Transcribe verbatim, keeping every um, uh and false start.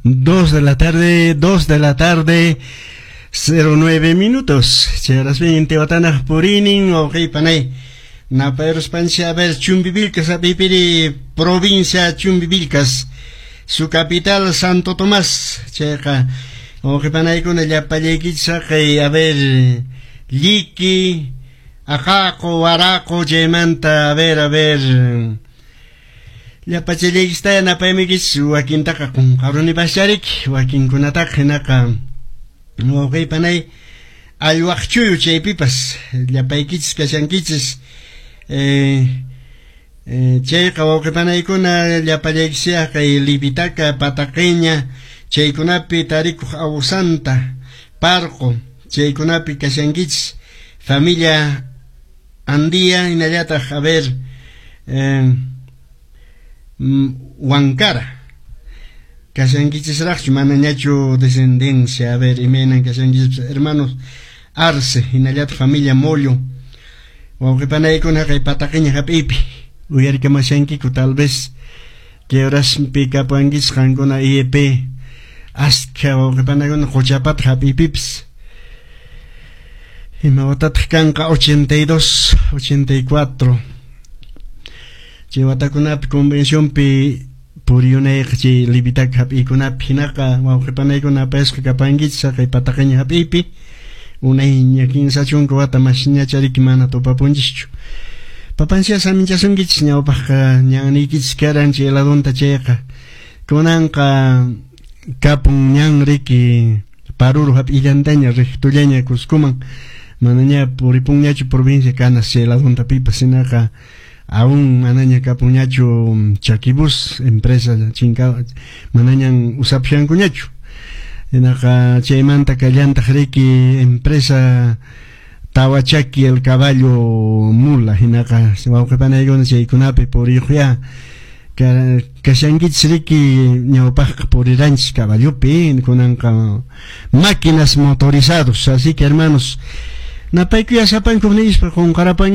Dos de la tarde, dos de la tarde, cero nueve minutos. Chayrasmi intiwatanaq purinin, wawqipanay. Napayuspanchik, a ver, Chumbivilcas, pipiri provincia Chumbivilcas, su capital Santo Tomás. Chayqa, wawqipanaykuna llapallaykichis haqay, a ver, Lliqui, Aqaqu, Waraqu, chaymanta, a ver, a ver, llapachallaykichistaya napaymikichis, wakintaqa qunqarunipascharik, wakinkunataqa hinaqa wawqipanay allwaqchuyu chaypipas llapaykichis kashankichis. Eh, eh, chayqa wawqipanaykuna llapallaykichis kay Livitaca, Pataqeña, chaykunapi tarikuq Awsanta, Parqo, chaykunapi kashankichis, familia Andía, hinallataq, a ver, eh, Huancara. Kashankichisraqchu manañachu descendencia, a ver, imaynan kashankichis, hermanos Arce, hinallataq familia Mollo. Wawqipanaykuna kay Pataqeña hap'iypi uyarikamashankiku, tal vez que horaspi kapuankichis qankuna I E P askha wawqipanaykuna Quchapata hap'iypipis. Ima watataq kanqa? ochenta y dos, ochenta y cuatro. Chay watakunapi convencionpi puriyunayqa chay Livitaca hap'iykunapi hinaqa wawqipanaykuna apayasqa kapankichis haqay Pataqeña hap'iypi unayña kinsa chunka wata masñachariki mana tupapunchischu. Papansia saminchasunkichis ñawpaqqa ñanniykichis karan chay ladunta chayqa kunanqa kapun ñan riki Paruro hap'illantaña rectollaña Cuscoman manaña puripunñachu provincia Canas chay ladunta pipas hinaqa aún manaña kapunñachu Chaquibus empresa chinka manañan usapushankuñachu hinaqa chaymanta kallantaq riki empresa Tawachaki el caballo mula hinaqa wawqipanaykuna chaykunapi puriyuqya kashankichis riki ñawpaqqa puriranchis caballopi kunanqa máquinas motorizados. Así que, hermanos, napaykuya sapankuq nispa qunqarapan.